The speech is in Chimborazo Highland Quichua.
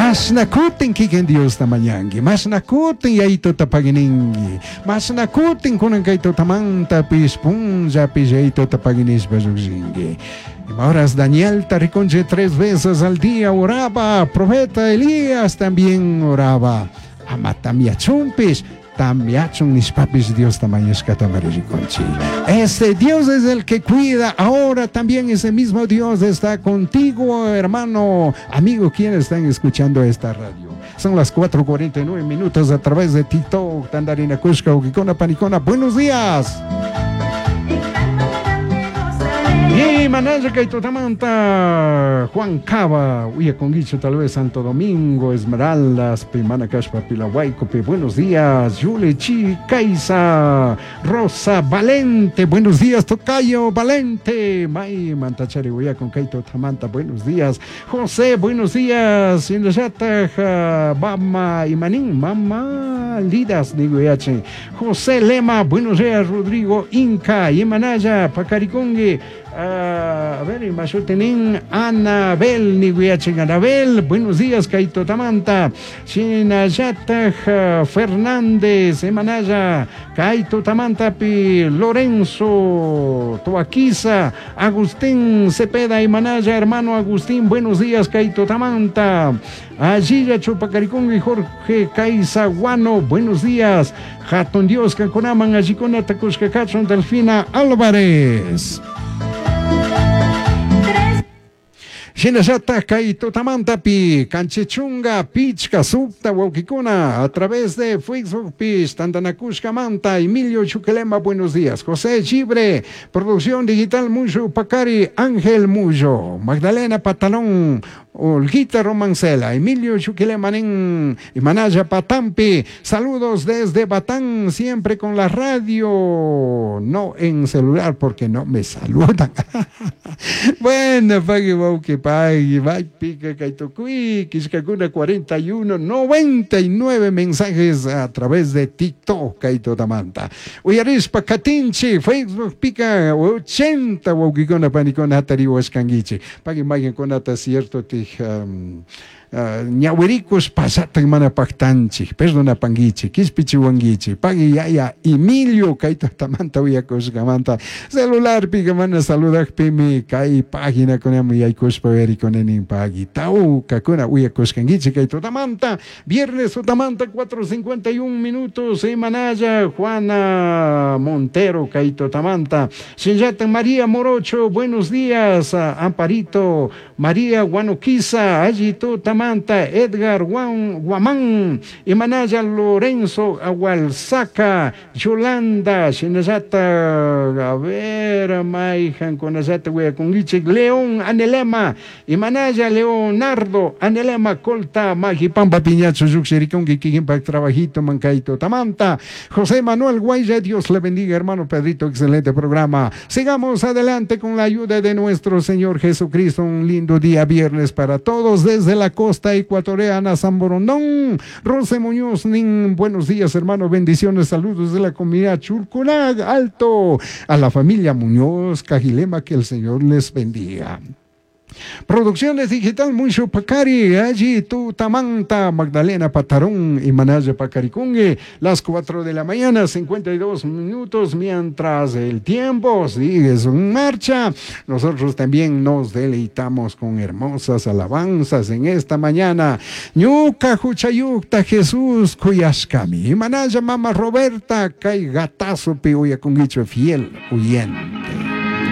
Mashna kutin kikin Diosta mañanki, mashna kutin yayituta pagininki, mashna kutin kunan kay tutamantapish punllapish yayituta paginishpa llujshinki. Ima horas Danielta rikunchik tres veces al día oraba, profeta Elías también oraba. Ama tamyachunpish, tamyachun nishpapish Diosta mañashkatamari rikunchik. Ese Dios es el que cuida. Ahora también ese mismo Dios está contigo, hermano, amigo, quienes están escuchando esta radio. Son las 4:49 minutos a través de TikTok, Tandarina Kushka, Ukikona, Panikona. Buenos días. Y manaya kay tutamanta Juan Cava, uyakunguichu tal vez Santo Domingo, Esmeraldas, Pimana Kashpa, Pilahuaycopi, buenos días, Yule Chi, Kaisa, Rosa Valente, buenos días, Tocayo Valente, May Mantachari, uyakun kay tutamanta, buenos días, José, buenos días, Shinallatag, Mama Imanin, Mama Lidas, digo yache, José Lema, buenos días, Rodrigo Inca, Imanaya, Pacaricongue, a ver, imashutinin Anabel, niguyachin Anabel, buenos días, Kaito Tamanta, Shinallatag, Fernández, Imanaya, Kaito Tamantapi, Lorenzo, Toaquiza, Agustín Cepeda, Imanaya, hermano Agustín, buenos días, Kaito Tamanta, Allilla Chupacaricungi, Jorge Caizaguano, buenos días, Hatun Dios, Cancunaman, Allicuna, Tacushka, Cachon, Delfina Álvarez. Shinallata kay tutamantapi kanchichunga pichka sukta wawkikuna a través de Facebook pish tantanakushkamanta Emilio Chuquilema, buenos días. José Chibre, producción digital Muyo Pacari, Ángel Muyo, Magdalena Patalón, Olguita Romancela, Emilio Chuquilema nin, Manaya Patampi, saludos desde Batán, siempre con la radio, no en celular porque no me saludan. Bueno, pagui, wauki, pagui, vai, pica, kaitucui, quishkakuna 41, 99 mensajes a través de TikTok, kaitutamanta. Uyarispa, katinchi, Facebook pica, 80 waukikuna, panikuna, hatariwashkanguichi. Pagui, mayqinkunata cierto tij, ñawirikus pasatan mana pactanchik, perdonapanguichik, quishpichiwanguichik, pagui yaya Emilio kaytatamanta uyakushkamanta, celularpika mana saludakpimi kay paginakunaman yaykushpa uyarikunanin pagui, tawkakuna uyakushkanguichik kay tutamanta, viernes tutamanta 4:51 minutos, Imanaya Juana Montero kay tutamanta, Shinllata María Morocho, buenos días, Amparito, María Guanoquiza, allí tutamanta, Edgar Juan Guamán, Imanaya Lorenzo Agualzaca, Yolanda, Shinallata, a ver, Maijan, Conallata, Hueaconguiche, León Anelema, Imanaya Leonardo Anelema, Colta, Magipampa, Piñacho, Yuxericongui, Quijimpa, Trabajito, Mancaito, Tamanta, José Manuel Guaya, Dios le bendiga, hermano Pedrito, excelente programa. Sigamos adelante con la ayuda de nuestro Señor Jesucristo. Un lindo día viernes para todos desde la costa ecuatoriana, San Borondón. Rose Muñoz, nin, buenos días, hermano, bendiciones, saludos de la comunidad Chulculag, Alto, a la familia Muñoz, Cajilema, que el Señor les bendiga. Producciones Digital Mucho Pacari, allí tu Tamanta, Magdalena Patarón y Manaya Pacaricungue, las 4 de la mañana, 52 minutos, mientras el tiempo sigue en marcha. Nosotros también nos deleitamos con hermosas alabanzas en esta mañana. Ñuka Juchayukta Jesús Cuyashkami, y Manaya Mama Roberta, Kai Gatazo Piuya Cunguicho, fiel huyente.